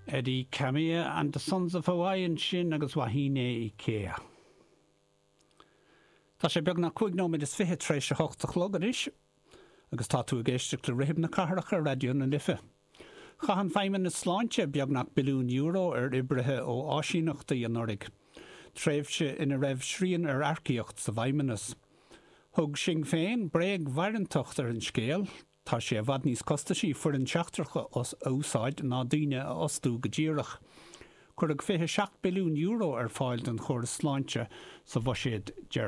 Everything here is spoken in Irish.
Eddie Kamiya and the Sons of Hawaii ansin agus Wahine Ikea. Tá sé beagnach 25 nóiméad tar éis a hocht a chlog anois agus tá tú ag éisteacht le Rithim na Cathrach ar Raidió na Life. Chaith an Feidhmeannas Sláinte beagnach billiún euro ar oibrithe ó áisíneachtaí anuraidh, tréimhse ina raibh srian ar earcaíocht sa bhFeidhmeannas. Thug Sinn Féin bréag-mharántacht ar an scéal, Tá sé i bhfad níos costaisí foireann sheachtrach a úsáid ná daoine a fhostú go díreach. Cuireadh €27 billiún ar fáil don chóras sláinte sa bhuiséad deireanach.